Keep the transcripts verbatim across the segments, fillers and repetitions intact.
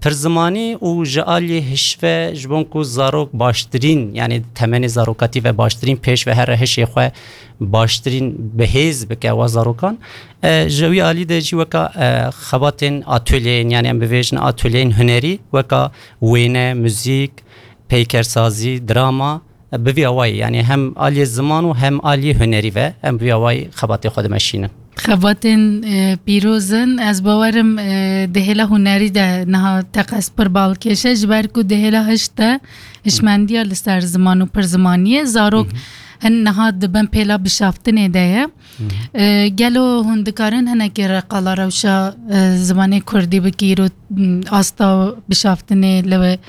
Pirzimanî û ji aliyê hişve ji bo ku zarok baştirîn, yanî temenê zarokatî ve baştirîn pêş ve here hişê xwe baştirîn bi hêz bike wa zarokan. E, ji wî alî de jî weka, e, xebatên atolyeyên, yanî em bivêjin atolyeyên hunerî, weka wêne, muzîk, peykersazî, drama, e, bi vî awayî, yanî hem aliyê ziman û hem aliyê hunerî ve em bi vî awayî xebatê xwe dimeşînin. Xebatên, e, pîroz in. Ez bawerim, e, di hêla hunerî de niha teqez pir balkêş e, ji ber ku di hêla hişt de hişmendiya li ser ziman û pirzimaniyê zarok Hı hı. hin niha di bin pêla bişaftinê de ye. Hı hı. E, gelo hûn dikarin hinekî re qala rewşa, e, zimanê kurdî bikî, îro, m, asta bişaftinê li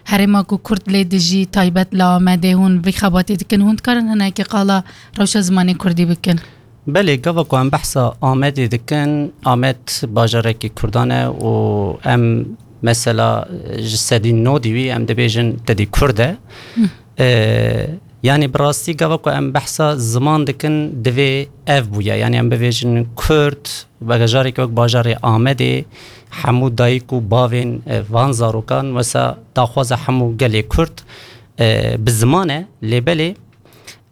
herêma ku kurd lê dijî, taybet li Amedê, hûn vî xebatê dikin, hûn dikarin hinekî qala rewşa zimanê kurdî bikin? Belê, gava ku em behsa Amedê dikin, Amed bajarekî kurdan e û em mesela, e, ji sedî nodî wî em dibêjin tedî kurd e. Hı. E, yanî bi rastî gava ku em behsa ziman dikin, divê ev bûye. Yanî em bivêjin kurd, bajarekî wek bajarê Amedê, hemû dayik û bavên, e, van zarokan, wesa daxwaza hemû gelê kurd, e, bi ziman e, lê belê,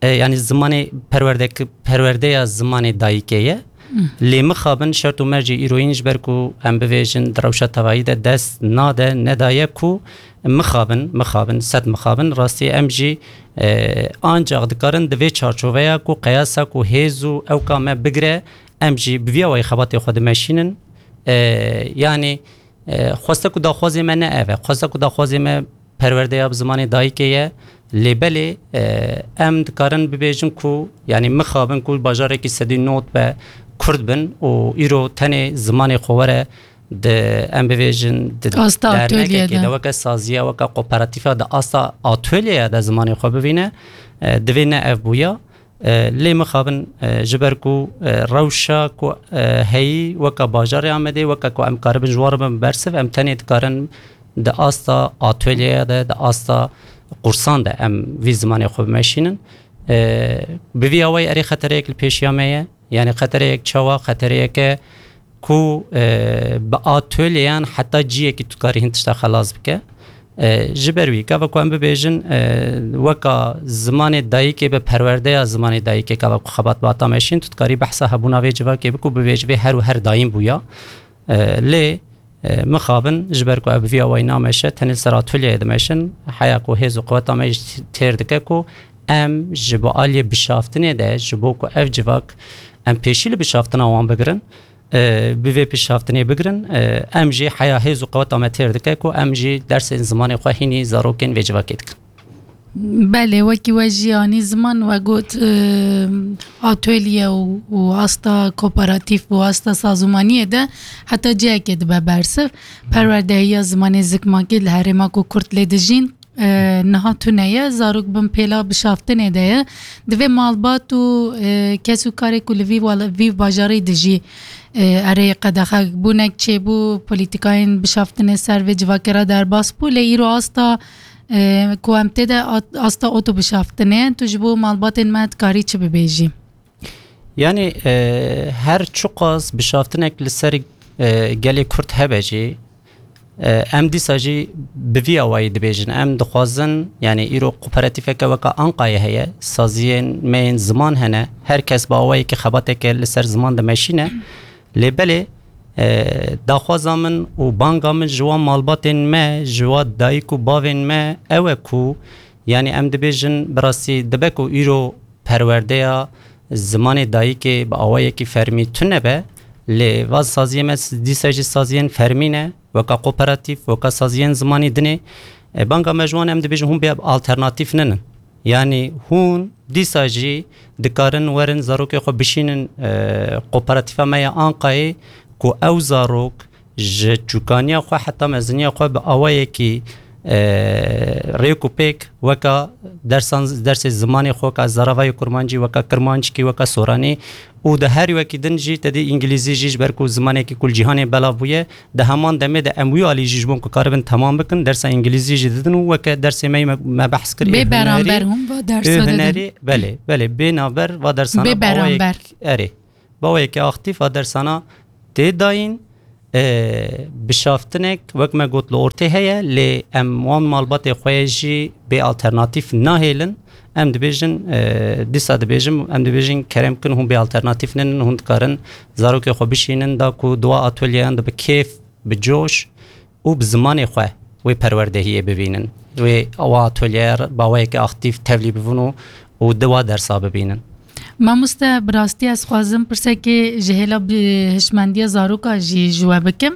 e, yanî zimanê perwerdek-, perwerdeya zimanê dayikê ye. Hmm. Lê mixabin şert û mercê îroyîn ji ber ku em bivêjin di rewşa tevayî de dest nade, nedaye ku mixabin, mixabin, sed mixabin, rastî em jî, e, ancaq dikarin di vê çarçoveya ku qeyasa ku hêz û ewka me bigire, em jî bi vî awayî xebatê xwe dimeşînin. E, yanî, e, xweste ku daxwazê me ne ev e. Xweste ku daxwazê me perwerdeya bi zimanê dayikê ye. Lê belê, e, em dikarin bibêjin ku, yanî mixabin ku bajarekî sedî nod be kurd bin û îro tenê zimanê xwe were di, em bivêjin, di Asta dernekekê atölyede. De, weke saziya, weke kooperatîfa di asta atölyeya de zimanê xwe bivîne, e, divê ne ev bûya. E, lê mixabin, e, ji ber ku, e, rewşa ku, e, heyî weke bajarê Amedê, weke ku em karibin ji wan re bin bersiv, em tenê dikarin di asta atölyeya de, di asta qursan de em vî zimanê xwe bimeşînin. E, bi vî awayî erê xetereyek li pêşiya me ye. Yanî xetereyek çawa? Xetereyeke ku, e, bi atölyeyan heta ciyekî tu dikarî hin tişta xelas bike. E, ji ber wî, gava ku em bibêjin, e, weka zimanê dayikê bi perwerdeya zimanê dayikê, gava ku xebat bi ata meşîn, tu dikarî behsa hebûna vê civakê bikî û bibêjî vê her û her dayîn bûya. E, lê, e, mixabin, ji ber ku ev bi vî awayî nameşe, tenê li ser atolyeyê dimeşin, heya ku hêz û qeweta me jî têr dike ku em ji bo aliyê bişaftinê de, ji bo ku ev civak em pêşî li bişaftina wan bigirin, e, bi vê pişaftinê bigirin, e, em jî heya hêz û qeweta me têr dike ku em jî dersên zimanê xwe hînî zarokên vê civakê dikin. Belê, wekî we jî anî ziman, we got, e, atölye û, û asta kooperatîf û asta sazûmaniyê de heta cihekê dibe bersiv. Perwerdehiya zimanê zikmakî li herêma ku kurd lê dijîn, e, niha tune ye, zarok bin pêla bişaftinê de ye. Divê malbat û, e, kes û karê ku li vî wala-, vî bajarî dijî, e, erê qedexebûnek çêbû, polîtîkayên bişaftinê ser vê civakê re derbas bû, lê îro asta, e, ku em tê de at-, asta otobişaftinê ye. Tu ji bo malbatên me dikarî çi bibêjî? Yanî, e, her çiqas bişaftinek li ser, e, gelê Kurd hebe jî, e, em dîsa jî bi vî awayî dibêjin. Em dixwazin, yanî îro kooperatîfeke weka Anqayê heye, saziyên me yên ziman hene, her kes bi awayekî xebateke li ser ziman dimeşîne. Lê belê, e, daxwaza min û banga min ji wan malbatên me, ji wan dayik û bavên me ew e ku, yanî em dibêjin, bi rastî dibe ku îro perwerdeya zimanê dayikê bi awayekî fermî tune be, lê va saziyê me s-, dîsa jî saziyên fermî ne, weka kooperatîf, weka saziyên zimanî dinê. E, banga me ji wan em dibêjin hûn bê alternatîf ninin. Yanî hûn dîsa jî dikarin werin zarokê xwe bişînin, e, kooperatîfa me ya Anqayê ku ew zarok ji çûkaniya xwe heta meziniya xwe bi awayekî, e, rêk û pêk weka dersan, dersê zimanê xwe, weka zaravayê kurmancî, weka kirmanckî, weka soranî û di her wekî din jî tedî îngilîzî jî, ji ber ku zimanekî ku li cîhanê belav bûye, di heman demê de em wî alî jî ji bo ku karibin temam bikin, dersa îngilîzî jî didin û weke dersê me, me, me behs kir, ê Bê beramber hunerî, hûn va dersa ê didin. Hunerî, belê, belê, bê navber va dersana Bê bi awayek-, beramber. Erê. Bi awayekî aktîf a dersana tê dayîn, e, bişaftinek, wek me got, li ortê heye, lê em wan malbatê xwe jî bê alternatîf nahêlin. Em dibêjin, e, dîsa dibêjin, em dibêjin, kerem kin, hûn bê alternatîf nenin, hûn dikarin zarokê xwe bişînin, da ku di wa atolyeyan de bi kêf, bi coş û bi zimanê xwe wê perwerdehiyê bibînin. Wê wa atolyeya bi awayekî aktîf tevlî bibin û, û di wa dersa bibînin. Mamoste, bi rastî ez xwazim pirsekê ji hêla bi hişmendiya zaroka jî ji we bikim.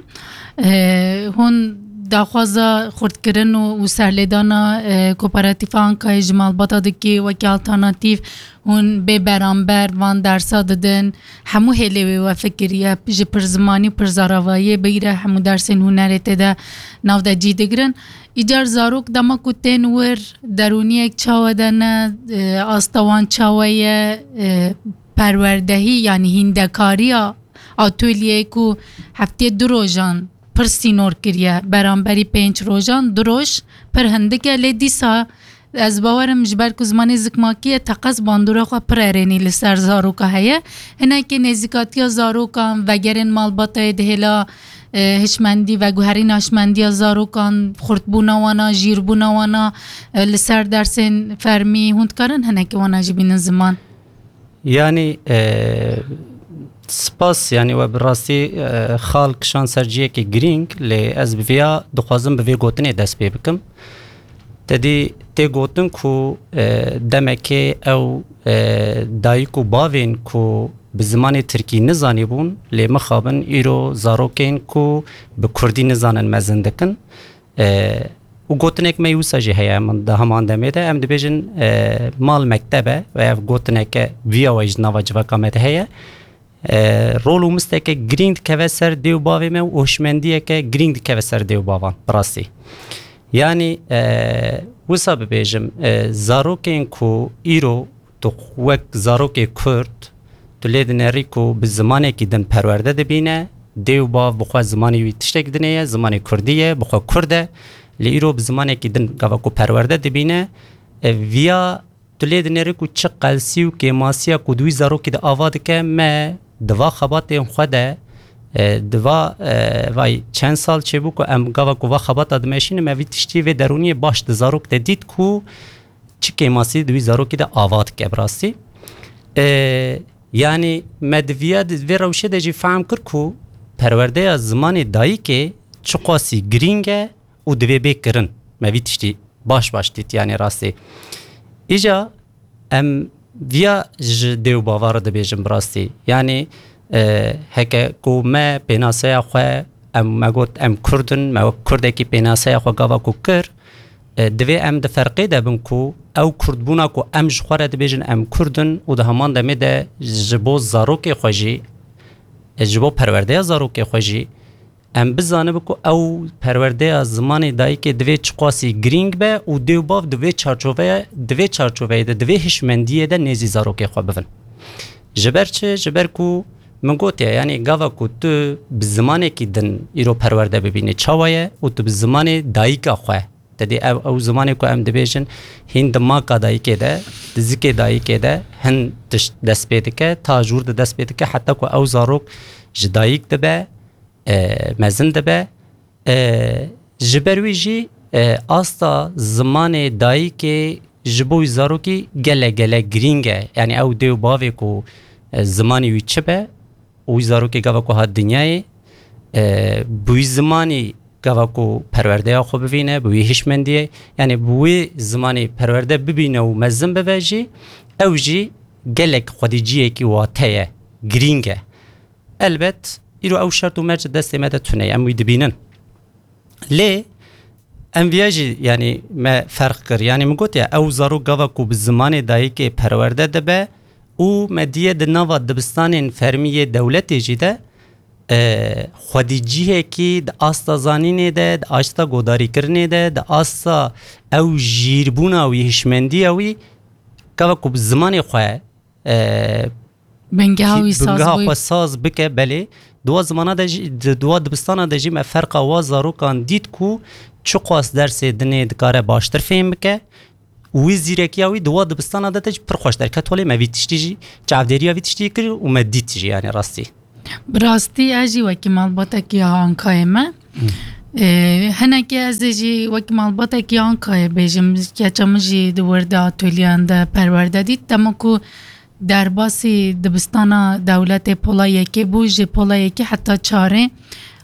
Eh, hûn daxwaza xurtkirin û, û serlêdana, eh, Kooperatîfa Ankayê ji malbata dikê wekî alternatîf, hûn bê beramber van dersa didin. Hemû hêlê wê we fikiriye, ji pirzimanî û pirzaravayiyê bigire hemû dersên hunerê tê de nav de cî digirin. Îcar zarok dema ku tên wir, derûniyek çawe de ne, e, asta wan çawe ye, e, perwerdehî, yanî hîndekariya atolyeyê ku heftiyê du rojan pir sînor kiriye, beramberî pênc rojan du roj pir hindik e, lê dîsa ez bawerim ji ber ku zimanê zikmakî ye, teqez bandora xwe pir erênî li ser zaroka heye. Hinekî nêzîkatiya zarokan, vegerên malbatayê di hêla e, hişmendî, veguherîna hişmendiya zarokan, xurtbûna wana, jîrbûna wana, e, li ser dersên fermî, hûn dikarin hinekî wana jî bînin ziman? Yanî, e, spas, yanî we bi rastî, e, xal kişand ser cihekî girîng, lê ez bi vêya dixwazim bi vê gotinê dest pê bikim. Te dî tê gotin ku, e, demekê ew, e, dayik û bavên ku bi zimanê tirkî nizanîbûn, lê mixabin îro zarokên ku bi kurdî nizanin mezin dikin. E, û gotinek me yê wisa jî heye, min di heman demê de em dibêjin, e, mal mekteb e, ve ev gotineke viya we jî di nava civaka me de heye. E, rol û misteke girîng dikeve ser dê û bavê me û hişmendiyeke girîng dikeve ser dê û bavan, bi rastî. Yanî, e, wisa bibêjim, e, zarokên ku îro tu wek zarokê Kurd, tu lê dinerî ku bi zimanekî din perwerde dibîne, dê û bav bi xwe zimanê wî tiştek dinê ye, zimanê Kurdî ye, bi xwe Kurd e, lê îro bi zimanekî din gava ku perwerde dibîne, e, viya tu lê dinêrî ku çi qelsî û kêmasiya ku di wî zarokî de ava dike, me di va xebatên xwe de, e, di va, e, vay çend sal çêbû ku em gava ku va xebata dimeşînin, me vî tiştî vê derûniyê baş di zarok de dît ku çi kêmasî di wî zarokî de ava dike bi rastî. E, yanî me di viya, di vê rewşê de jî fehm kir ku perwerdeya zimanê dayikê çiqasî girîng e û divê bê kirin. Me vî tiştî baş baş dît, yanî rastî. Îca em viya ji dê û bava re dibêjin bi rastî. Yanî, e, heke ku me pênaseya xwe, em, me got em Kurd in, me wek Kurdekî pênaseya xwe gava ku kir, e, divê em di ferqê de bin ku ew Kurdbûna ku em ji xwe re dibêjin em Kurd in û di heman demê de ji bo zarokê xwe jî, e, ji bo perwerdeya zarokê xwe jî, em bizanibe ku ew perwerdeya zimanê dayikê divê çiqasî girîng be û dê û bav di vê çarçoveye, di vê çarçoveyê de, di vê hişmendiyê de nêzî zarokê xwe bibin. Ji ber çi? Ji ber ku min gotiye, yanî gava ku tu bi zimanekî din îro perwerde bibînî, çawa ye û tu bi zimanê dayika xwe, te dî ew, ew zimanê ku em dibêjin hîn di maka dayikê de, di zikê dayikê de hin tişt dest pê dike, ta jûr de dest pê dike, heta ku ew zarok ji dayik dibe, e, mezin dibe. E, ji ber wî jî, e, asta zimanê dayikê ji bo wî zarokî gelek, gelek girîng e. Yanî ew dê û bavê ku, e, zimanê wî çi be û wî zarokê gava ku hat dinyayê, e, bi wî zimanî gava ku perwerdeya xwe bivîne, bi wî hişmendiyê, yanî bi wî zimanî perwerde bibîne û mezin bibe jî, ew jî gelek xwedî cihekî wate ye, girîng e. Elbet, îro ew şert û merc di destê me de tune ye, em wî dibînin. Lê em viya jî, yanî me ferq kir. Yanî min gotiye, ew zarok gava ku bi zimanê dayikê perwerde dibe û me diye di nava dibistanên fermî yê dewletê jî de, e, xwedîcihekî di asta zanînê de, di asta godarîkirinê de, di asta ew jîrbûna wî, hişmendiya wî, gava ku bi zimanê xwe, e, Bingeha kî-, wî saz bingeha bû. Xwe saz bike, belê. Di wa zimana de jî, di, di wa dibistana de jî me ferqa wa zarokan dît ku çiqas dersê dinê dikare baştir fêm bike. Û wî zîrekiya wî di wa dibistana de, de jî pir xweş derket holê. Me vî tiştî jî, çavdêriya vî tiştî kir û me dît jî, yanî rastî. Bi rastî ez jî wekî malbatekî ya Ankayê me. Ee, hinekî ez ê jî wekî malbatekî ya Ankayê bêjim. Keça min jî di wir de atolyeyan de perwerde dît. Dema ku derbasî dibistana dewletê pola yekê bû, ji pola yekê heta çarê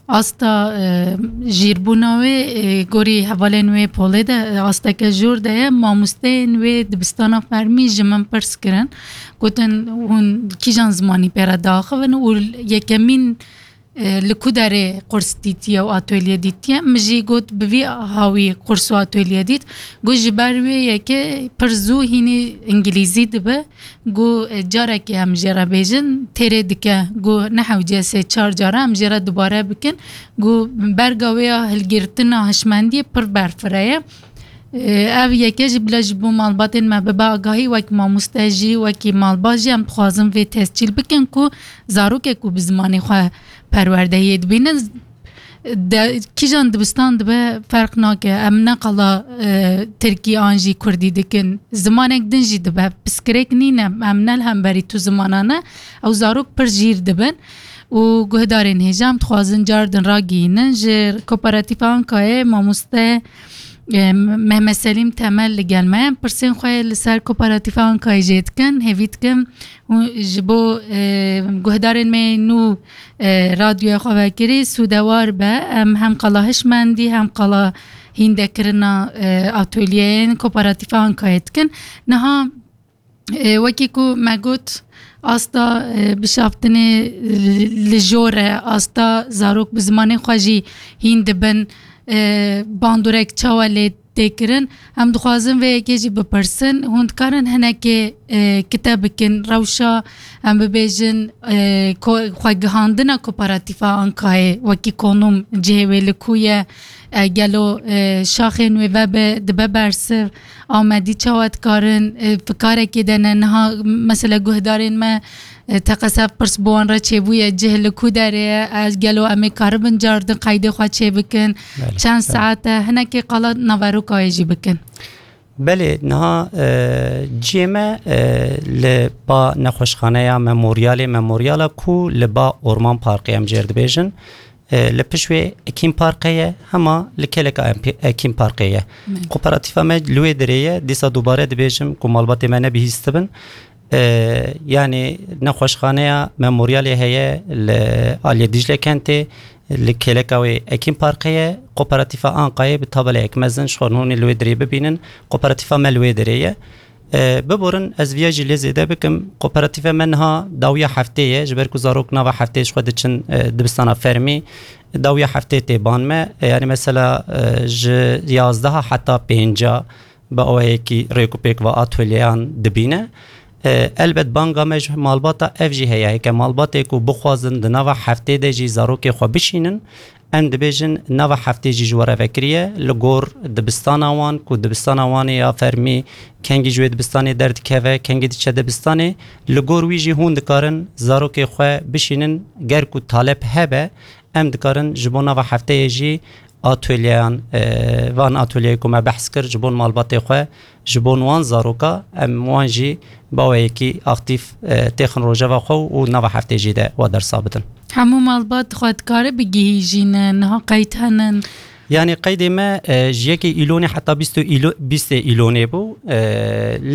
asta, e, jîrbûna wê, e, gorî hevalên wê polê de, e, asteke jor de ye. Mamosteyên wê dibistana fermî ji min pirs kirin. Gotin, hûn kîjan zimanî pê re diaxivin? Û yekemîn, e, li ku derê qurs dîtiye û atolye dîtiye? Min jî got, bi vî hawî qurs û atolye dît. Got, ji ber wê yekê pir zû hînî îngilîzî dibe. Got, e, carekê em jê re bêjin, têrê dike. Got, ne hewce, sê çar cara em jê re dubare bikin. Got, berga wê ya hilgirtina hişmendiyê pir berfire ye. Ev yeke jî bila ji bo malbatên me bibe agahî, wek mamoste jî, wekî malbat jî em dixwazin vê tescîl bikin ku zarokek ku bi zimanê xwe perwerdeyê dibînin, de, kîjan dibistan dibe ferq nake. Em ne qala, e, tirkî an jî kurdî dikin. Zimanek din jî dibe. Piskirêk nîne. Em ne li hemberî tu zimana ne. Ew zarok pir jîr dibin. Û guhdarên hêja em dixwazin car din ragihînin. Ji Kooperatîfa Ankayê mamoste, e, Mehmet Selîm Temel li gel me ye. Pirsên xwe li ser Kooperatîfa Ankayê jê dikin. Hêvî dikim hûn ji bo, e, guhdarên me nû, e, radyoya xwe vekirî sûdewar be. Em hem qala hişmendî hem qala hîndekirina, e, atolyeyên Kooperatîfa Ankayê dikin. Niha, e, wekî ku me got, asta, e, bişaftinê li, li jor e, asta zarok bi zimanê xwe jî hîn dibin, e, bandorek çawa lê tê kirin? Em dixwazin vê yekê jî bipirsin. Hûn dikarin hinekê, e, kite bikin, rewşa, em bibêjin, e, ko-, xwegihandina Kooperatîfa Ankayê wekî konûm cihê wê li ku ye? E, gelo, e, şaxên wê vebe, dibe bersiv? Amedî çawa dikarin, e, fikarekê de ne? Niha mesela guhdarên me, e, teqese pirs bi wan re çêbûye, cih li ku derê ye? Ez gelo em ê karibin car din qeydê xwe çêbikin? Belê, Çend belê. Saet e? Hinekê qala naveroka wê jî bikin. Belê, niha, e, cihê me, e, li ba nexweşxaneya Memorialê, Memoriala ku li ba Orman Parkê em jê re dibêjin. E, li pişt wê Ekîn Parkê ye, hema li kêleka Empi-, Ekîn Parkê ye. Belê. Kooperatîfa me li wê derê ye, dîsa dubare dibêjim ku malbatê me nebihîstibin. E, yanî nexweşxaneya Memorialê heye li aliyê Dîcle Kentê, li kêleka wê Ekîn Parkê ye. Kooperatîfa Ankayê bi tabeleyek mezin, ji xwe hûn ê li wê derê bibînin, kooperatîfa me li wê derê ye. E, biborin, ez viya jî lê zêde bikim. Kooperatîfa me niha dawiya heftê ye, ji ber ku zarok nava heftê ji xwe diçin, e, dibistana fermî. Dawiya heftê tê ban me. E, yanî mesela, e, ji yazdeha heta pênca bi awayekî rêkûpêk ve atolyeyan dibîne. E, elbet banga me ji malbata ev jî heye. Heke malbatê ku bixwazin di nava heftê de jî zarokê xwe bişînin, em dibêjin nava heftê jî ji we re vekirî ye. Li gor dibistana wan, ku dibistana wan ê ya fermî, kengî ji wê dibistanê derdikeve, kengî diçe dibistanê, li gor wî jî hûn dikarin zarokê xwe bişînin. Ger ku talep hebe, em dikarin ji bo nava hefteyê jî atolyeyan, e, van atolyeyê ku me behs kir, ji bo malbatê xwe, ji bo wan zaroka, em wan jî baweyekî aktîf, e, têxin rojeva xwe û nava heftê jî de wa dersa bidin. Hemû malbat xwe dikare bigihîjîne, niha qeyd henin? Yanî qeydê me, e, ji yekê Îlonê heta bîst û îlo-, bîstê Îlonê bû. E,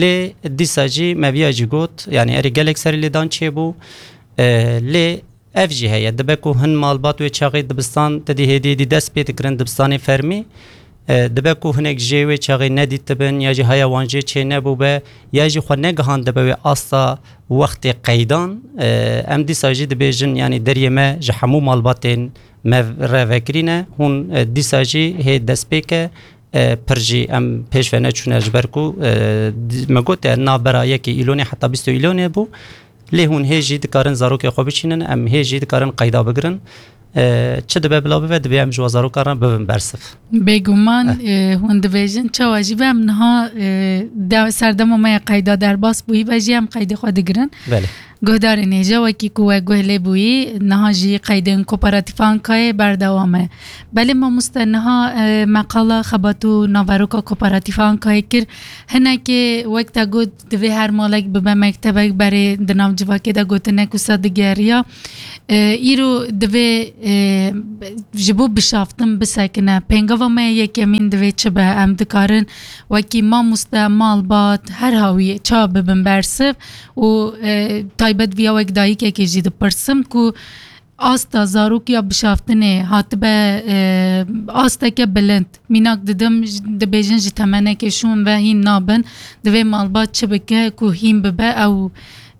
lê dîsa jî me viya jî got, yanî erê gelek serî lêdan çêbû. E, lê ev jî heye. Dibe ku hin malbat wê çaxê dibistan te dî hêdî hêdî dest pê dikirin dibistanê fermî. E, dibe ku hinek jê wê çaxê nedîtibin ya jî haya wan jê çê nebûbe ya jî xwe negihandibe wê asta wextê qeydan. E, em dîsa jî dibêjin, yanî deriyê me ji hemû malbatên me re vekirîne. Hûn, e, dîsa jî hê destpêke, e, pir jî em pêş ve neçûne ji ber ku, e, di-, me got, e, navbera yekê Îlonê heta bîst û Îlonê bû. Lê hûn hê jî dikarin zarokê xwe biçînin, em hê jî dikarin qeyda bigirin. E, çi dibe bila bibe, divê em ji we zarokan re bibin bersiv. Bêguman, Eh. e, hûn dibêjin, çawa jî be, em niha, e, de-, serdema me ya qeyda derbas bûyî be jî em qeydê xwe digirin. Belê. Guhdarên hêja, wekî ku we guh lê bûyî, niha jî qeydên Kooperatîfa Ankayê berdewam e. Belê mamoste, niha, e, meqala xebat û naveroka Kooperatîfa Ankayê kir. Hinekê wek te got, divê her malek bibe mektebek, berê di nav civakê de gotinek wisa digeriya. E, îro divê, e, ji bo bişaftin bisekine. Pêngava me yekemîn divê çi be? Em dikarin wekî mamoste, malbat, her hawî çawa bibin bersiv û, e, taybet viya wek dayikekê jî dipirsim ku asta zarokiya bişaftinê hatibe, e, asteke bilind. Mînak didim, j-, dibêjin ji temenekê şûn ve hîn nabin. Divê malbat çi bike ku hîn bibe? Ew,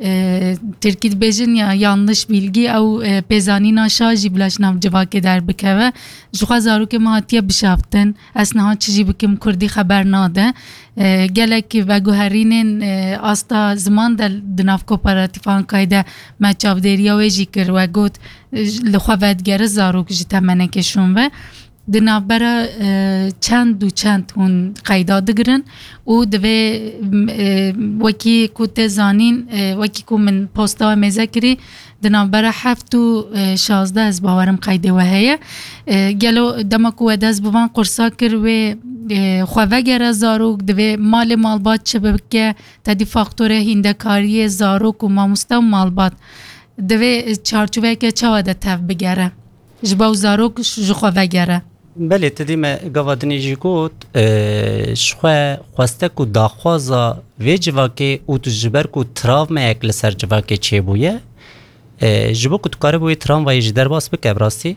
e, tirkî dibêjin ya yanlış bilgi, ew, e, pêzanîna şa jî bila ji nav civakê derbikeve. Ji xwe zarokê min hatiye bişaftin. Ez niha çi jî bikim, kurdî xeber nade. E, gelek veguherînên, e, asta ziman de di nav Kooperatîfa Ankayê de me çavdêriya wê jî kir. We got, e, li xwe vedigere zarok ji temenekê şûn ve. Di navbera, e, çend û çend hûn qeyda digirin û divê, e, wekî ku tê zanîn, e, wekî ku min posta we mêze kirî, di navbera heft û, e, şazdeh ez bawerim qeydê we heye. E, gelo dema ku we dest bi van qursa kir, wê, e, xwe vegere zarok, divê malê malbat çi bike, te dî faktorê hîndekariyê zarok û mamoste û malbat divê çarçoveyeke çawa de tev bigere? Ji bo zarok ji xwe vegere. Belê, tu dî me gava dinê jî got, e, ji xwe xwestek û daxwaza vê civakê û tu ji ber ku travmayek li ser civakê çêbûye, e, ji bo ku tu karibû wê travmayê jî derbas bike, bi rastî,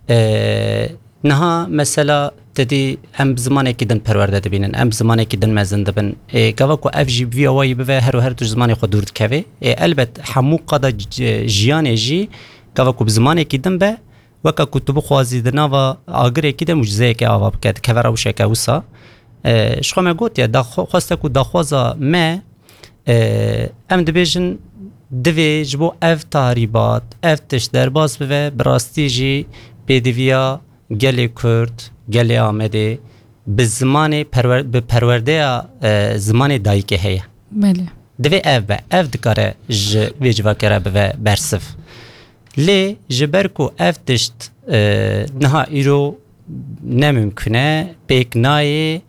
e, niha mesela tu dî em bi zimanekî din perwerde dibînin, em bi zimanekî din mezin dibin. E, gava ku ev jî bi vî awayî bive, her û her tu ji zimanê xwe dûr dikevê. E, elbet hemû qada c-, jiyanê jî gava ku bi zimanekî din be, weke ku tu bixwazî di nava agirekî de mucizeyeke ava bike, dikeve rewşeke wisa. E, ji xwe me gotiye, daxwa-, xwestek û daxwaza me, e, em dibêjin divê ji bo ev tahrîbat, ev tişt derbas bibe, bi rastî jî pêdiviya gelê Kurd, gelê Amedê bi zimanê perwer-, bi perwerdeya, e, zimanê dayikê heye. Belê. Divê ev be, ev dikare ji vê civakê re bive bersiv. Lê ji ber ku ev tişt, e, niha îro ne mimkun e, pêk nayê,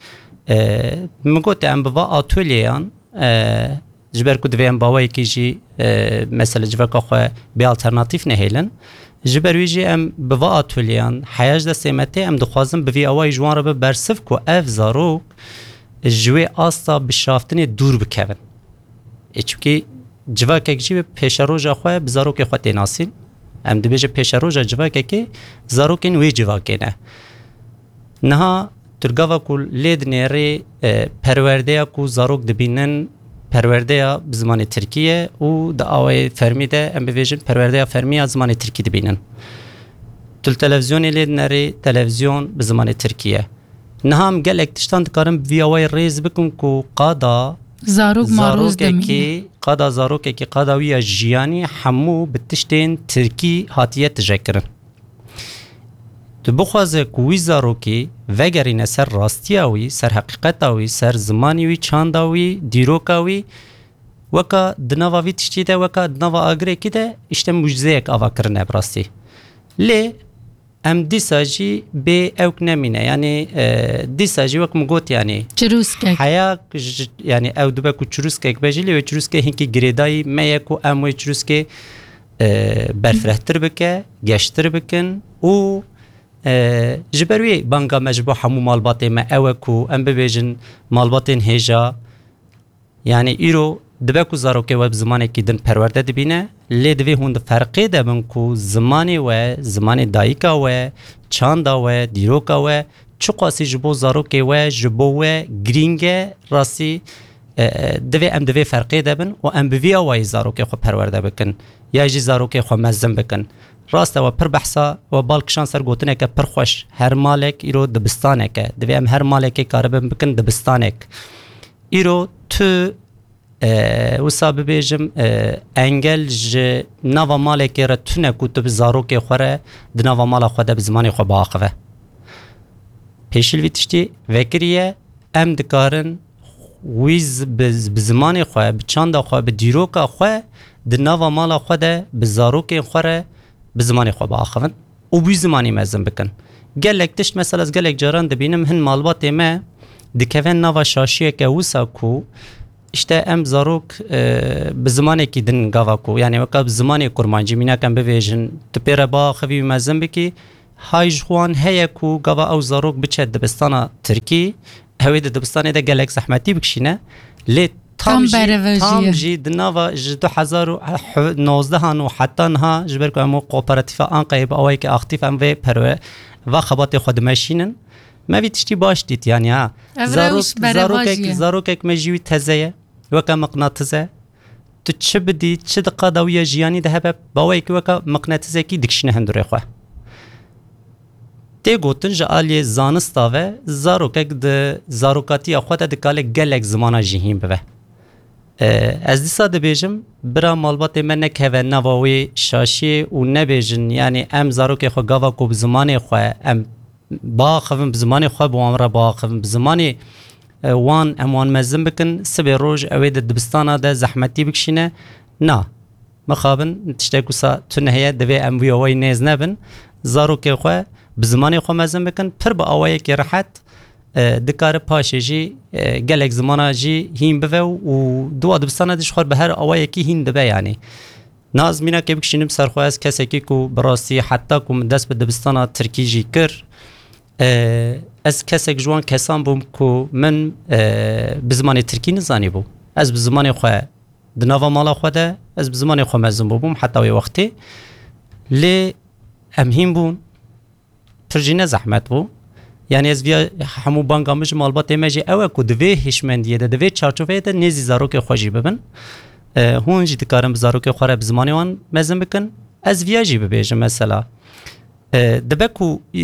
e, min gote em bi va atolyeyan, e, ji ber ku divê em bi awayekî jî, e, mesela civaka xwe bê alternatîf nehêlin. Ji ber wî jî em bi va atolyeyan, heya ji destê me tê, em dixwazin bi vî awayî ji wan re bibe bersiv ku ev zarok ji wê asta bişaftinê dûr bikevin. E, çimkî civakek jî bi pêşeroja xwe, bi zarokê xwe tê nasîn. Em dibêje pêşeroja civakekê, zarokên wê civakê ne. Niha tu gava ku lê dinêrî, e, perwerdeya ku zarok dibînin, perwerdeya bi zimanê tirkî ye û di awayê fermî de, em bibêjin, perwerdeya fermî ya zimanê tirkî dibînin. Tu li televîzyonê lê dinêrî, televîzyon bi zimanê tirkî ye. Niha em gelek tiştan dikarin bi vî awayî rêz bikin ku qada Zarok maroz demîne. zarokekî, qada zarokekî, qada wî ya jiyanî hemû bi tiştên tirkî hatiye tijekirin. Tu bixwaze ku wî zarokî vegerîne ser rastiya wî, ser heqîqeta wî, ser zimanî wî, çanda wî, dîroka wî, weka di nava vî tiştî de, weka di nava agirekî de, îşte mucizeyek ava kirine bi rastî. Lê em dîsa jî bê ewk nemîne. Yanî, e, dîsa jî wek min got, yanî Çirûskek. heya ji, yanî ew dibe ku çirûskek be jî, lê wê çirûskê hinkî girêdayî me ye ku em wê çirûskê, e, berfirehtir bike, geştir bikin û, e, ji ber wê banga me ji bo hemû malbatê me ew e ku em bibêjin malbatên hêja, Yanî îro dibe ku zarokê we bi zimanekî din perwerde dibîne, lê divê hûn di ferqê de bin ku zimanê we, zimanê dayika we, çanda we, dîroka we, çiqasî ji bo zarokê we, ji bo we girîng e, rastî, e, e, divê em di vê ferqê de bin û em bi vî awayî zarokê xwe perwerde bikin, ya jî zarokê xwe mezin bikin. Rast e, we pir behsa, we bal kişand ser gotineke pir xweş, her malek îro dibistanek e. Divê em her malekê karibin bikin dibistanek. Îro tu, e, wisa bibêjim, e, engel ji nava malekê re tune ku tu bi zarokê xwe re di nava mala xwe de bi zimanê xwe biaxive. Pêşî li vî tiştî vekiriye, em dikarin wî bi, bi zimanê xwe, bi çanda xwe, bi dîroka xwe di nava mala xwe de bi zarokên xwe re bi zimanê xwe biaxivin û wî zimanî mezin bikin. Gelek tişt, mesela ez gelek caran dibînim, hin malbatê me dikeve nava şaşiyeke wisa ku işte em zarok, e, bi zimanekî din gava ku, yani weka bi zimanê kurmancî mînak em bivêjin, tu pê re biaxivî û mezin bikî, hay ji xwe wan heye ku gava ew zarok biçe dibistana tirkî, ew ê di dibistanê de gelek zehmetî bikişîne. Lê tam Tam jî, berevejiye. tam jî di nava ji du hezar û nozdehan û heta niha, ji ber ku em û kooperatîfa Anqayê bi awayekî aktîf em vê perwe-, va xebatê xwe dimeşînin. Me vî tiştî baş dît, yani ha. Ev Zarok-, rewş berevajiye. zarokek, zarokek me jî wî teze ye, weke miqnatis e. Tu çi bidî, çi di qada wî ya jiyanî de hebe, baweyekî weke miqnatisekî dikişîne hindurê xwe. Tê gotin ji aliyê zanista ve zarokek di zarokatiya xwe de dikare gelek zimana jî hîn bive. E, ez dîsa dibêjim, bira malbatê me nekeve nava wê şaşiyê û nebêjin, yani em zarokê xwe gava ku bi zimanê xwe em biaxivin, bi zimanê xwe bi wan re biaxivin, bi zimanê, e, wan em wan mezin bikin, sibê roj ew ê di dibistana de zehmetî bikişîne. Na, mixabin tiştek wisa tune heye, divê em wî awayî nêz nebin. Zarokê xwe bi zimanê xwe mezin bikin, pir bi awayekî rehet, e, dikare paşê jî, e, gelek zimana jî hîn bive û di wa dibistana de ji xwe bi her awayekî hîn dibe, yani. Na ez mînakê bikişînim ser xwe, ez kesekî ku bi rastî heta ku min dest bi dibistana tirkî jî kir, e, ez kesek ji wan kesan bûm ku min, e, bi zimanê tirkî nizanîbû. Ez bi zimanê xwe di nava mala xwe de, ez bi zimanê xwe mezin bûbûm heta wê wextê. Lê em hîn bûn. Pir jî ne zehmet bû. Yani ez viya hemû banga min ji malbatê me jî ew e ku di vê hişmendiyê de, di vê çarçoveyê de nêzî zarokê xwe jî bibin. E, hûn jî dikarin bi zarokê xwe re bi zimanê wan mezin bikin. Ez viya jî bibêjim mesela. E, dibe ku, e,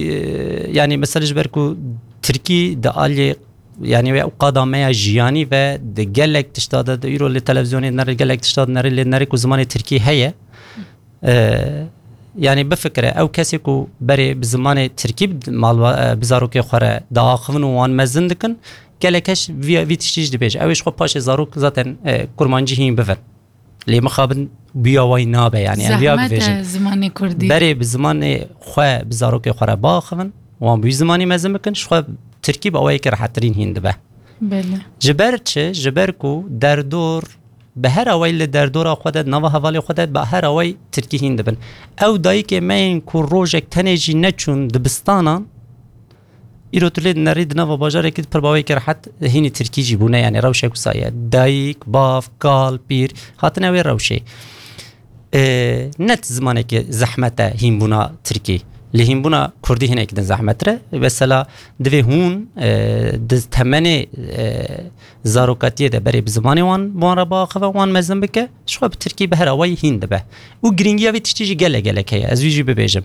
yani mesela ji ber ku tirkî di aliyê, yani wê ew qada me ya jiyanî ve di gelek tişta de, di îro li televizyonê dinere, gelek tişta dinere, lê dinere ku zimanê tirkî heye. E, yani bifikire, ew kesê ku berê bi zimanê tirkî bi malba-, e, bi zarokê xwe re diaxivin û wan mezin dikin, gelek kes vî, vî tiştî jî dibêje. Ew ê ji xwe paşê zarok zaten, e, kurmancî hîn bivin. Lê mixabin bûya wayî nabe, yani em viya Zehmet e bibêjin. zimanê kurdî. Berê bi zimanê xwe, bi zarokê xwe re biaxivin, wan bi wî zimanî mezin bikin, ji xwe tirkî bi awayekî rehettirîn hîn dibe. Belê. Ji ber çi? Ji ber ku derdor bi her awayî li derdora xwe de, nava hevalê xwe de bi her awayî tirkî hîn dibin. Ew dayikê me yên ku rojek tenê jî neçûn dibistanan, îro tu lê dinerî di nava bajarekî de pir baweyekî rehet hînî tirkî jî bûne, yani rewşek wisa ye. Dayik, bav, kal, pîr hatine wê rewşê. E, ne zimanekî zehmet e hînbûna tirkî. Lê hînbûna kurdî hinek din zehmettir e. Mesela divê hûn, e, di temenê, e, zarokatiyê de berê bi zimanê wan, bi wan re biaxive, wan mezin bike, ji xwe bi tirkî bi her awayî hîn dibe. Û girîngiya vê tiştî jî gelek gelek heye. Ez wî jî bibêjim.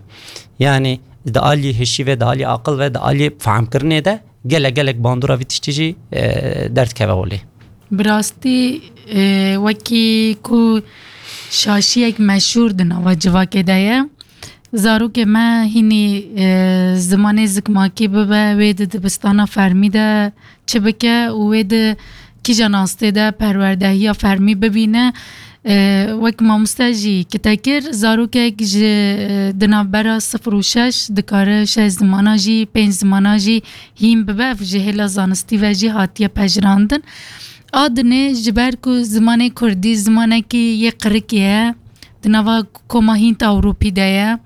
Yani di alî hişî ve, di alî aqil ve, di alî fehmkirinê de gelek gelek bandora vî tiştî jî, e, derdikeve holê. Bi rastî, e, wekî ku şaşiyek meşhûr di nava civakê de ye, zarokê me hînî, e, zimanê zikmakî bibe, wê di dibistana fermî de çi bike û wê di kîja nastê de perwerdehiya fermî bibîne. E, wek mamoste jî kite kir, zarokek ji, e, di navbera sifir û şeş dikare şeş zimana jî, pênc zimana jî hîn bibe, ev ji hêla zanistî ve jî hatiye pejirandin. A dinê ji ber ku zimanê kurdî zimanekî yê qirikê ye, di nava koma Hînt Ewropî de ye,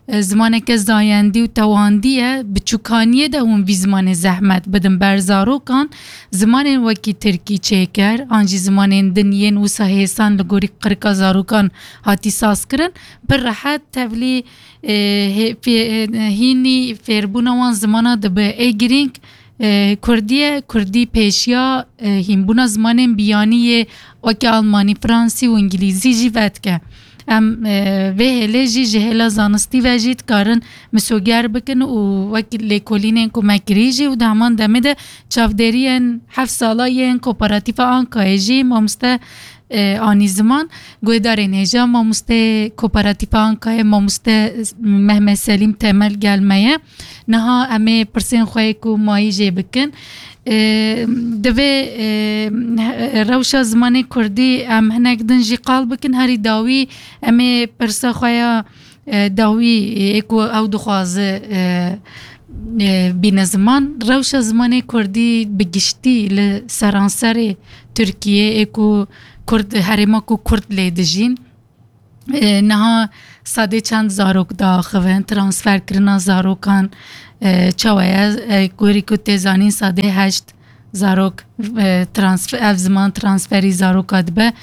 e, zimaneke zayendî û tewandî ye, biçûkaniyê de hûn vî zimanê zehmet bidin ber zarokan, zimanên wekî tirkî, çêker, an jî zimanên din yên wisa hêsan li gorî qirika zarokan hatî sazkirin, pir rehet tevlî, e, hê-, fê-, e, hînî fêrbûna wan zimana dibe. Ê girîng, e, kurdî ye, kurdî pêşiya, e, hînbûna zimanên biyanî yê wekî almanî, fransî û îngilîzî jî vedike. Em, e, vê hêlê jî ji hêla zanistî ve jî dikarin misoger bikin û wek lêkolînên ku me kirî jî û di heman demê de çavdêriyên heft sala yên Kooperatîfa Ankayê jî mamoste, e, anî ziman. Guhdarên hêja, mamosteyê Kooperatîfa Ankayê, mamoste Mehmet Selîm Temel gel me ye. Niha em ê pirsên xwe yê ku mayî jê bikin. E, divê, e, rewşa zimanê kurdî em hinek din jî qal bikin. Herî dawî em ê pirsa xwe ya e, dawî, e, ê ku ew dixwaze, e, e, bîne ziman. Rewşa zimanê kurdî bi giştî li seranserê Tirkiyê, ê ku kurd, herêma ku kurd lê dijîn, e, niha sadê çend zarok diaxivin, transferkirina zarokan, e, çawa ye? E, gorî ku tê zanîn, sadê heşt zarok, e, transf-, ev ziman transferî zaroka dibe.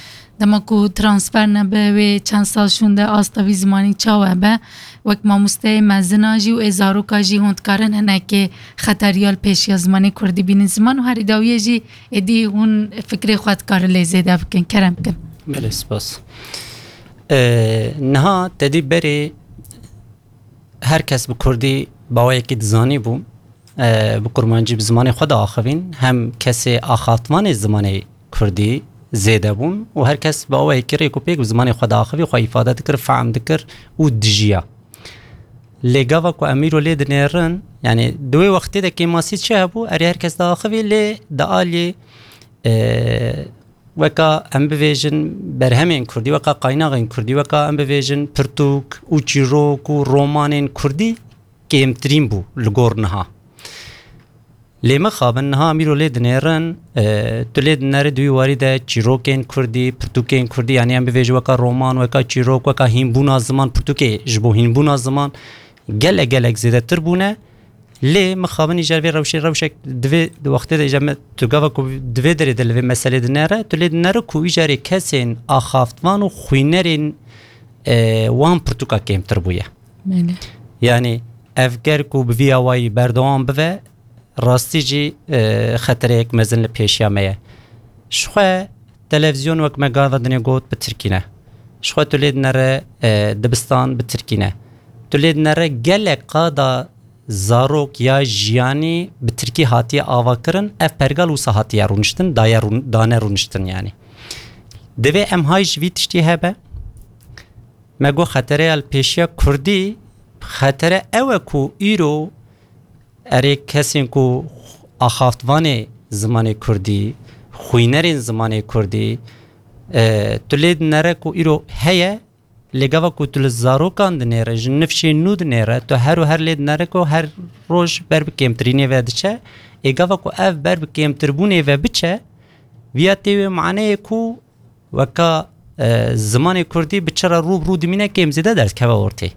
Dema ku transfer nebe, wê çend sal şûnde asta vî zimanî çawa be? Wek mamosteyê mezina jî û ê zaroka jî hûn dikarin hinekê xeteriya li pêşiya zimanê kurdî bînin ziman û herî dawiyê jî êdî hûn fikrê xwe dikarin lê zêde bikin. Kerem bikin. Belê, spas. E, niha te dî berê her kes bi kurdî baweyekî dizanî bû. E, bi kurmancî bi zimanê xwe diaxivîn, hem kesê axaftvanê zimanê kurdî zêde bûn û her kes bi awayekî rêk û pêk bi zimanê xwe diaxivî, xwe îfade dikir, fehm dikir û dijiya. Lê gava ku em îro lê dinêrin, yani di wê wextê de kêmasî çi hebû, erê her kes diaxivî, lê di alî, e, weka em bivêjin berhemên kurdî, weka qaynaxên kurdî, weka em bivêjin pirtûk û çîrok û romanên kurdî kêmtirîn bû li gor niha. Lê mixabin niha em îro lê dinêrin, e, tu lê dinere di wî warî de çîrokên kurdî, pirtûkên kurdî, yani em bivêjin weka roman, weka çîrok, weka hînbûna ziman, pirtûkê ji bo hînbûna ziman gelek gelek zêdetir bûne. Lê mixabin îcar vê rewşê, rewşek divê di wextê de îcar me, tu gava ku divê derê de li vê meselê dinere, tu lê dinere ku îcarê kesên axaftvan û xwînerên, e, wan pirtûka kêmtir bûye. Belê. Yani ev ger ku bi vî awayî berdewam bive, rastî jî, e, xetereyek mezin li pêşiya me ye. Ji xwe televîzyon, wek me gava dinê got, bi tirkî ne. Ji xwe tu lê dinere, e, dibistan, bi tirkî ne. Tu lê dinere gelek qada zarok ya jiyanî bi tirkî hatiye avakirin, ev pergal wisa hatiye rûniştin, daye rûn-, dane rûniştin yani. Divê em hay ji vî tiştî hebe. Me got xetereya li pêşiya kurdî, xetere ew e ku îro erê kesên ku axaftvanê zimanê kurdî, xwînerên zimanê kurdî, e, tu lê dinere ku îro heye, lê gava ku tu li zarokan dinêre, ji nifşên nû dinêre, tu her û her lê dinere ku her roj ber bi kêmtirînê ve diçe. Ê gava ku ev ber bi kêmtirbûnê ve biçe, viya tê wê maneyê ku weka, e, zimanê kurdî bi çi re rû bi rû dimîne, kêm zêde derdikeve ortê.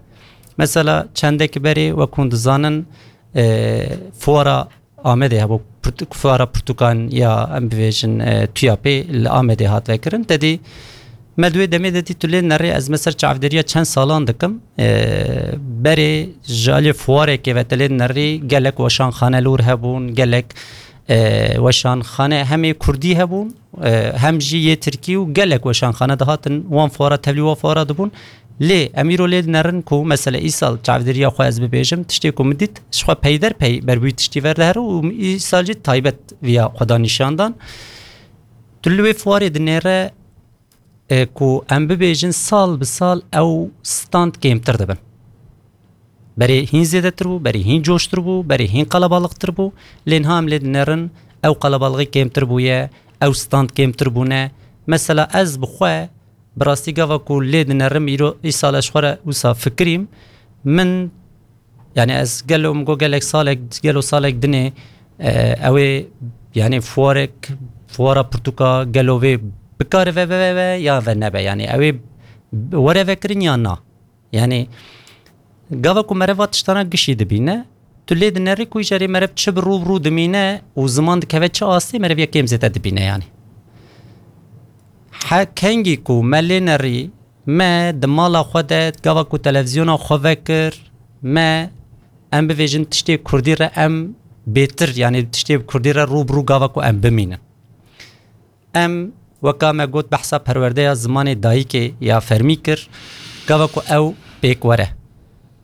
Mesela çendek berê, wek hûn dizanin, e, fuara Amedê hebû, pirtûk-, fuara pirtûkan ya em bivêjin, e, TUYAPê li Amedê hat vekirin. Te dî me di wê demê de dî tu lê nerê, ez me ser çavdêriya çend salan dikim. E, berê ji aliyê fuarekê ve te lê nerî gelek weşanxane li wir hebûn, gelek, e, weşanxane hem ê kurdî hebûn, e, hem jî yê tirkî û gelek weşanxane dihatin wan fuara tevlî wan fuara dibûn. Lê em îro lê dinerin ku mesela îsal çavdêriya xwe ez bibêjim, tiştê ku min dît, ji xwe peyderpey ber bi wî tiştî ver dihere û îsal jî taybet viya xwe da nîşan dan. Tu li wê fuarê dinêre, e, ku em bibêjin sal bi sal ew stand kêmtir dibin. Berê hîn zêdetir bû, berê hîn coştir bû, berê hîn qelebalixtir bû. Lê niha em lê dinerin, ew qelebalixî kêmtir bûye, ew stand kêmtir bûne. Mesela ez bi xwe, bi rastî gava ku lê dinerim, îro îsal ez ji xwe re wisa fikirîm. Min, yani ez gelo, min got gelek salek, gelo salek dinê, e, ew ê, yani fuarek, fuara pirtûka gelo vê bikare ve, ve, ve, ve ya ve nebe. Yani ew ê were vekirin ya na. Yani gava ku meriv va tiştana gişî dibîne, tu lê dinerî ku îcarê meriv çi bi rû bi rû dimîne û ziman dikeve çi astê, meriv ya kêm zêde dibîne yani. He, kengî ku me lê nerî, me di mala xwe de gava ku televîzyona xwe vekir, me em bivêjin tiştê kurdî re em bêtir, yani tiştê kurdî re rû bi rû gava ku em bimînin. Em, weka me got, behsa perwerdeya zimanê dayikê ya fermî kir, gava ku ew pêk were.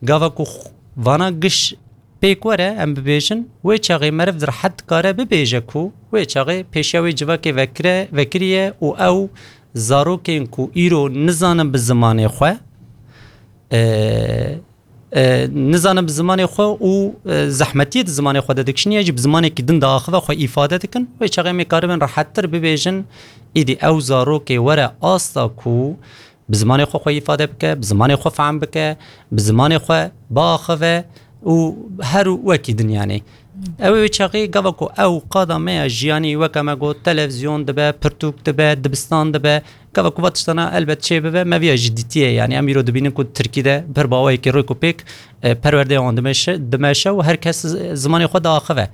Gava ku xw-, vana giş pêk were, em bibêjin, wê çaxê meriv di rehet dikare bibêje ku wê çaxê pêşiya wê civakê vekire, vekiriye û ew Zarokên ku îro nizanin bi zimanê xwe, e, e, nizanin bi zimanê xwe û, e, zehmetiyê di zimanê xwe de dikişînin, ya jî bi zimanekî din diaxive xwe îfade dikin, wê çaxê em ê karibin rehettir bibêjin, îdî ew zarokê were asta ku bi zimanê xwe xwe îfade bike, bi zimanê xwe fehm bike, bi zimanê xwe biaxive û her wekî din yanî. Ew ê wê çaxê gava ku ew qada me ya jiyanî, weke me got, televizyon dibe, pirtûk dibe, dibistan dibe, gava ku va tiştana elbet çê bibe, me viya jî dîtiye. Yanî em îro dibînin ku Tirkî de pir bi awayekî rêk û pêk, e, perwerdeya wan dimeşe, dimeşe û her kes z-, zimanê xwe diaxive.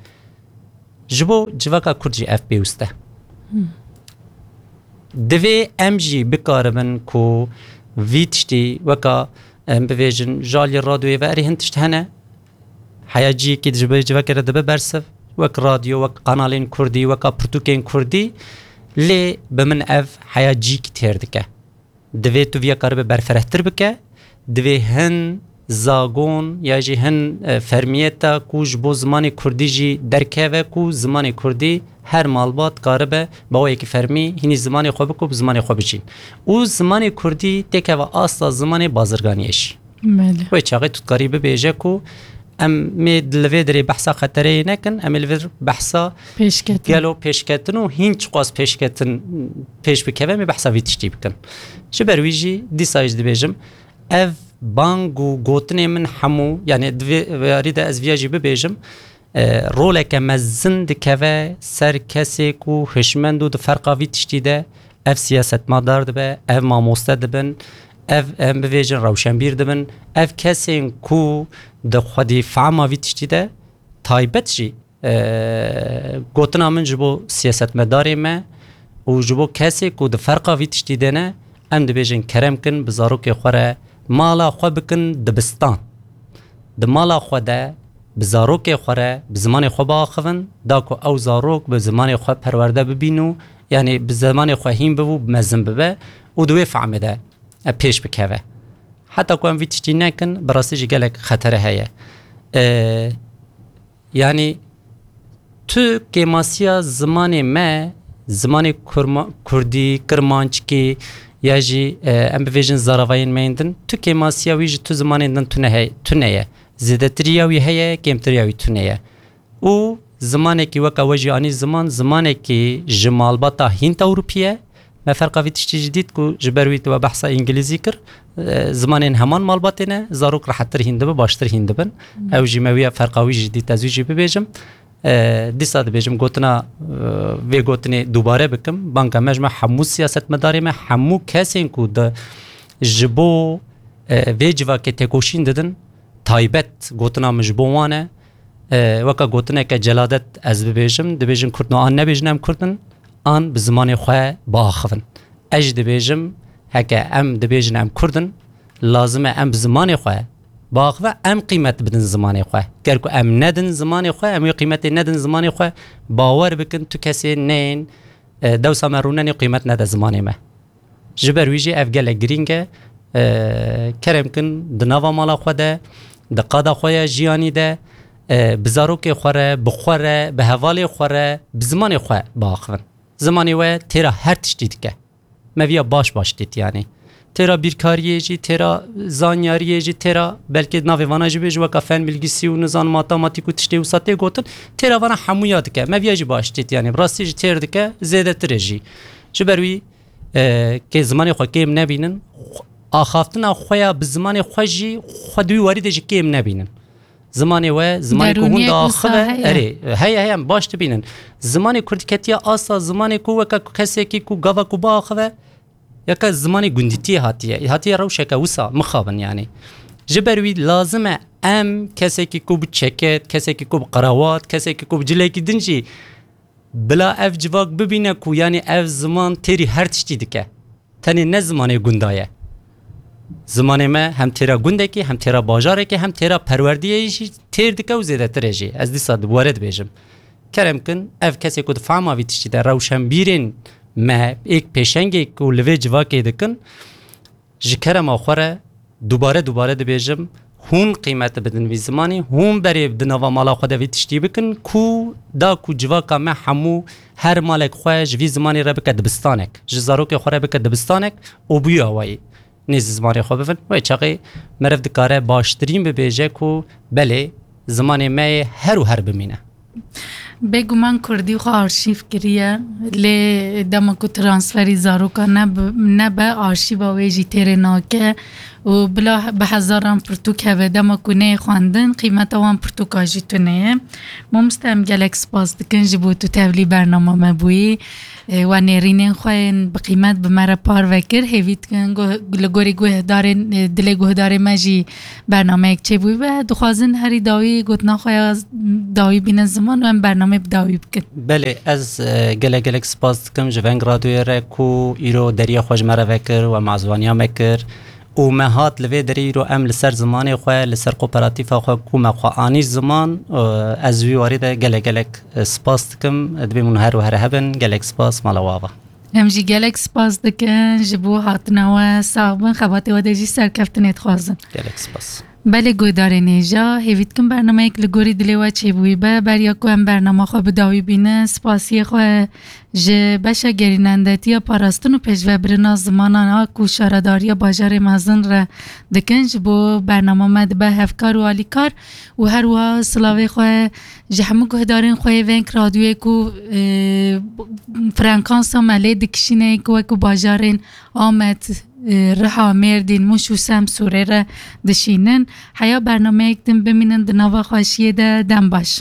Ji bo civaka Kurd jî ev pêwist e. Divê em jî bikaribin ku vî tiştî weka, em bivêjin, ji aliyê radyoyê ve erê hin tişt hene. Heya ciyekî ji bo civakê re dibe bersiv. Wek radyo, wek kanalên kurdî, weka pirtûkên kurdî. Lê bi min ev heya ciyekî têr dike. Divê tu viya karibe berfirehtir bike. Divê hin zagon ya jî hin, e, fermiyeta ku ji bo zimanê kurdî jî derkeve, ku zimanê kurdî her malbat karibe bi awayekî fermî hînî zimanê xwe bike û bi zimanê xwe bijîn. Û zimanê kurdî têkeve asta zimanê bazirganiyê jî. Belê. Wê çaxê tu dikarî bibêje ku em ê li vê derê behsa xetereyê nekin, em ê li vir behsa Pêşketin. gelo pêşketin û hîn çiqas pêşketin pêş bikeve, em ê behsa vî tiştî bikin. Ji ber wî jî dîsa jî dibêjim, ev bang û gotinê min hemû, yanî di vê yarî de ez viya jî bibêjim, e, roleke mezin dikeve ser kesê ku hişmend û di ferqa vî tiştî de ev siyasetmedar dibe, ev mamoste dibin, ev, em bivêjin, rewşenbîr dibin, ev kesên ku di xwedî fehma vî tiştî de taybet jî, e, gotina min ji bo siyasetmedarê me û ji bo kesê ku di ferqa vî tiştî de ne, em dibêjin kerem kin bi zarokê xwe re mala xwe bikin dibistan. Di mala xwe de bi zarokê xwe re bi zimanê xwe biaxivin, da ku ew zarok bi zimanê xwe perwerde bibîn û, yanî bi zimanê xwe hîn bibe û mezin bibe û di wê fehmê de, e, pêş bikeve. Heta ku em vî tiştî nekin, bi rastî jî gelek xetere heye. E, yanî tu kêmasiya zimanê me, zimanê kurma-, kurdî, kirmanckî ya jî, e, em bivêjin zaravayên me yên din, tu kêmasiya wî ji tu zimanên din tune hey-, tune ye. Zêdetirî ya wî heye, kêmtirî ya wî tune ye. Û zimanekî weka we jî anî ziman, zimanekî ji malbata Hînd Ewropî ye. Me ferqa vî tiştî jî dît ku ji ber wî tu we behsa îngilîzî kir, e, zimanên heman malbatê ne, zarok rehettir hîn dibe, baştir hîn dibin. Hmm. Ew jî me wî ferqa wî jî dît, ez wî jî bibêjim. E, dîsa dibêjim gotina, e, vê gotinê dubare bikim. Banka me ji me hemû siyasetmedarê me, hemû kesên ku di, ji bo, e, vê civakê têkoşîn didin, taybet gotina min ji bo wan e. E, weka gotineke celadet ez bibêjim, dibêjin Kurd no an nebêjin em Kurd in, an bi zimanê xwe biaxivin. Ez jî dibêjim, heke em dibêjin em Kurd in, lazim e em bi zimanê xwe biaxive, em qîmet bidin zimanê xwe. Ger ku em nedin zimanê xwe, em wê qîmetê nedin zimanê xwe, bawer bikin tu kesê neyên, e, dewsa me rûnenê qîmet nede zimanê me. Ji ber wî jî ev gelek girîng e. E, kerem kin di nava mala xwe de, di qada xwe ya jiyanî de, e, bi zarokê xwe re, bi xwe re, bi hevalê xwe re, bi zimanê xwe biaxivin. Zimanê we têra her tiştî dike. Me viya baş baş dît yanî. Têra bîrkariyê jî, têra zanyariyê jî, têra belkê navê vana jî bêje weka fen bilgisi û nizan matematîk û tiştê wisa tê gotin, têra vana hemûya dike. Me viya jî baş dît yanî. Bi rastî jî têr dike, zêdetirê jî. Ji ber wî, e, kê zimanê xwe kêm nebînin, xwe-, axaftina xwe ya bi zimanê xwe jî xwe di wî warî de jî kêm nebînin. Zimanê we, zimanê ku hûn Derûniyek wisa diaxive, heye? Erê, heye, heye, em baş dibînin. Zimanê kurdî ketiye asta zimanê ku weke ku kesekî ku gava ku biaxive, yeka zimanê gundîtiyê hatiye. Hatiye rewşeke wisa mixabin yanî. Ji ber wî lazim e em kesekî ku bi çeket, kesekî ku bi qerawat, kesekî ku bi cilekî din jî bila ev civak bibîne ku yanî ev ziman têrî her tiştî dike. Tenê ne zimanê gunda ye. Zimanê me hem têra gundekî, hem têra bajarekî, hem têra perwerdiyê jî têr dike û zêdetirê jî. Ez dîsa di were dibêjim. Kerem kin, ev kesê ku di fehma vî tiştî de rewşenbîrên me êk pêşengê ku li vê civakê dikin, ji kerema xwe re dubare dubare dibêjim, hûn qîmet bidin vî zimanî, hûn berê di nava mala xwe de vî tiştî bikin, ku da ku civaka me hemû her malek xwe ji vî zimanî re bike dibistanek, ji zarokê xwe re bike dibistanek û bûyî awayî nêzî zimanê xwe bibin. Wê çaxê meriv dikare baştirîn bibêje ku belê, zimanê me yê her û her bimîne. Bêguman kurdî xwe arşîv kiriye, lê dema ku transferî zaroka nebe, arşîva wê jî têrê nake û bila bi hezaran pirtûk hebe, dema ku neyê xwendin, qîmeta wan pirtûka jî tune ye. Mamoste, em gelek spas dikin ji bo tu tevlî bernama me bûyî. E, we nêrînên xwe yên bi qîmet bi me re parve kir. Hêvî dikin li gorî guhdarên, e, dilê guhdarê me jî bernameyek çêbûyî be. Dixwazin herî dawî gotina xwe ya dawî bînin ziman û em bernamê bi dawî bikin. Belê, ez, e, gelek gelek spas dikim ji Veng Radyoyê re ku îro deriya xwe ji me re vekir, we mazwaniya me kir û me hat li vê derê. Îro em li ser zimanê xwe, li ser kooperatîfa xwe ku me xwe anî ziman, e, ez wî warî de gelek gelek, e, spas dikim. Dibê min her û her hebin. Gelek spas, mala we ava. Em jî gelek spas dikin ji bo hatina we. Sax bin, xebatê we de jî serkeftinê dixwazin. Gelek spas. Belê, guhdarên hêja, hêvî dikim bernameyek li gorî dilê we çêbûyî be. Beriya ku em bernama xwe bi dawî bînin, spasiyê xwe ji beşa gerînendetiya parastin û pêşvebirina zimanan a ku şaredariya bajarê mezin re dikin, ji bo bernama me dibe hevkar û alîkar û her wiha silavê xwe ji hemû guhdarên xwe yê Veng Radyoyê ku, e, frekansa me lê dikişîne, ku wekî bajarên Amed, e, Riha, Mêrdîn, Mûş û Semsûrê re dişînin. Heya bernameyek din bimînin di nava xweşiyê de, dem baş.